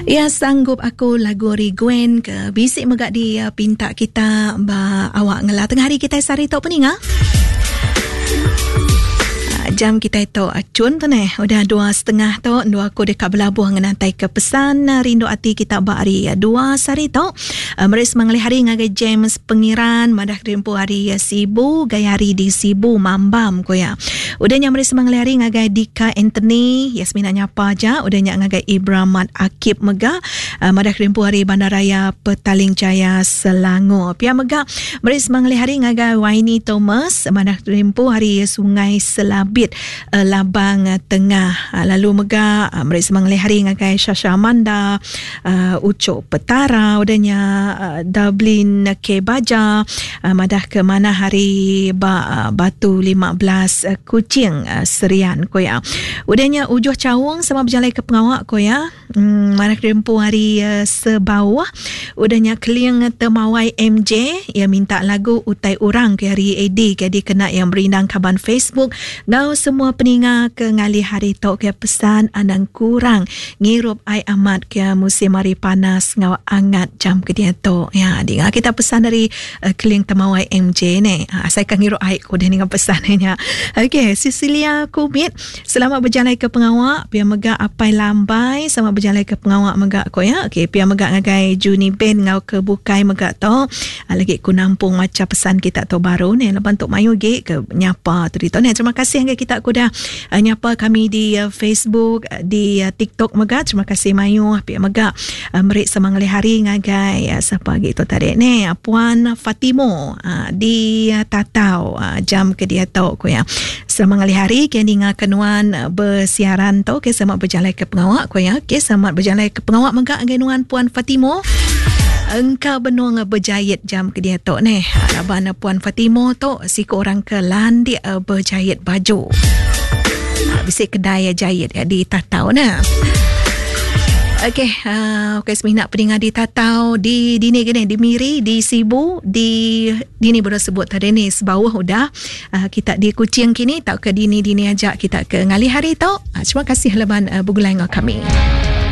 Ya sanggup aku lagu ari Gwen ke bisi mega di eh, pinta kita ba awak ngela tengah hari kita sehari tu peninga. Ah, jam kita tu acun tu neh udah 2.30 tu dua aku deka belabuh ngenantai ke pesan eh, rindu ati kita ba hari eh, dua sehari tu meri semangali hari ngagai James Pengiran madah kerimpu hari Sibu gaya hari di Sibu Mambam ko ya. Udah nya meri semangali hari ngagai Dika Anthony, Yasmina nyapa aja, udah nya ngagai Ibramat Akib mega uh, madah kerimpu hari Bandaraya Petaling Jaya Selangor. Pia mega meri semangali hari ngagai Waini Thomas madah kerimpu hari Sungai Selabit uh, Labang Tengah. Uh, lalu mega uh, meri semangali hari ngagai Shasha Amanda, uh, Ucok Petara udah nya uh, Dublin K Baja uh, madah ke mana hari ba uh, Batu 15 uh, Kuching uh, Serian ko ya. Udah nya Ujuh Chaung sama berjalai ke pengawak ko ya. Hmm, madah ke empu hari uh, sebawah. Udah nya Keling Temawai MJ ia minta lagu Utai Orang ke hari AD ke dikena yang berindang kaban Facebook ngau semua peninga ke ngalih hari tu ke pesan anang kurang Ngirup ai amat ke musim hari panas enggau angat jam ke diatu. Ya, dinga kita pesan dari uh, Keling Temawai MJ ni. Uh, asai ka ngirup ai ku deh ninga pesan nya. Okey, Cecilia Kumit, selamat berjalai ke pengawa. Pia mega Apai Lambai, selamat berjalai ke pengawa mega ko ya. Okey, pia mega ngagai Juni Ben enggau ke bukai mega tu. Uh, lagi ku nampung macha pesan kita tu baru ni laban tu mayuh gi ke nyapa tu ditu ni. Terima kasih ngagai kita ku dah Uh, nyapa kami di uh, Facebook, uh, di TikTok mega. Terima kasih mayuh pia mega meri semangali hari ngagai siapa agi tu tadi ni Puan Fatimo di Tatau jam ke dia tu ku ya. Semangali hari ke ninga ke nuan bersiaran tu ke selamat berjalai ke pengawa ku ya. Ke selamat berjalai ke pengawa mega ngagai nuan Puan Fatimo. Engka benung berjahit jam ke dia tu ni. Laban Puan Fatimo tu siku orang ke landik berjahit baju. Bisi kedai jahit ya di Tatau nah. Okey, uh, okey semina peninga di Tatau, di dini gini, di Miri, di Sibu, di dini baru sebut tadi ni sebawah udah uh, kita di Kuching kini tau ke dini-dini aja kita ke ngalih hari tu. Uh, terima kasih leban uh, begulai enggau kami.